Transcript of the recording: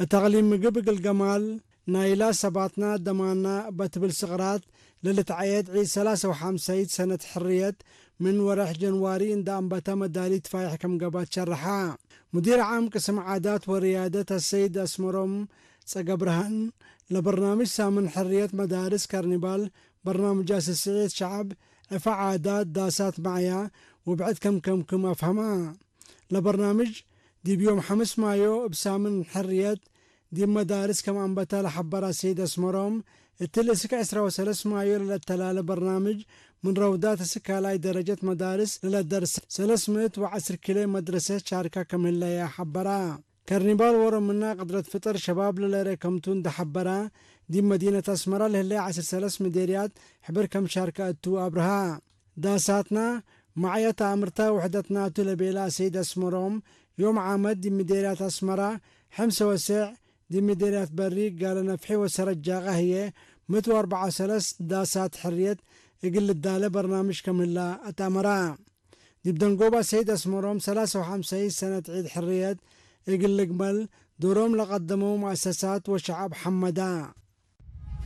እታቕሊም ምግብ እግል ገማል ናይላ ሰባትና ደማና በትብል ስቕራት ለልትዓየድ ዒድ ሰላሳ ወሓምሳይት ሰነት ሕርየት ምን ወረሕ ጀንዋሪ እንዳ ኣንበታ መዳሊት ፋይሕ ከም ገባት ሸርሓ። ሙዲር ዓም ቅስም ዓዳት ወርያደት ኣሰይድ ኣስመሮም ጸገብርሃን ለበርናምጅ ሳምን ሕርየት መዳርስ ካርኒባል በርናምጃ ስስዒት ሸዓብ ዕፋ ዓዳት ዳሳት ማዕያ ውብዕት ከም ከምክም ኣፍሃማ። ለበርናምጅ ዲብ ዮም ሓምስ ማዮ እብ ሳምን ሕርየት ዲብ መዳርስ ከም ኣንበታ ለሓበራ ሰይድ ኣስመሮም፣ እትል እስክ ዕስራ ወሰለስ ማዮ ለለተላለ በርናምጅ ምን ረውዳት እስክ ካልኣይ ደረጀት መዳርስ ለለደርስ ሰለስ ምእት ወዐስር ኪሎ መድረሰት ሻርካ ከም ህለያ ሓበራ። ከርኒባል ወሮምና ቅድረት ፍጥር ሸባብ ለለረ ከምቱ እንደ ሓበራ፣ ዲብ መዲነት ኣስመራ ለህለያ ዐስር ሰለስ ምዴርያት ሕብር ከም ሻርካ እቱ ኣብርሃ። ዳሳትና ማዕየት ኣምርታ ውሕደትናቱ ለቤላ ሰይድ ኣስመሮም፣ ዮም ዓመት ዲብ ምዴርያት ኣስመራ፣ ሕምሰ ወሰዕ ዲብ ምዴርያት በሪ፣ ጋለ ነፍሒ ወሰረት ጃቃ ህየ፣ ምእት ወአርብዓ ወሰለስ ዳሳት ሕርየት እግል ልዳለ በርናምጅ ከም ህላ ኣትኣመራ። ዲብ ደንጎባ ሰይድ ኣስመሮም ሰላሳ ወሓምሳይ ሰነት ዒድ ሕርየት እግል ልግመል ዶሮም ለቀደመው ሙአሰሳት ወሸዓብ ሐመዳ።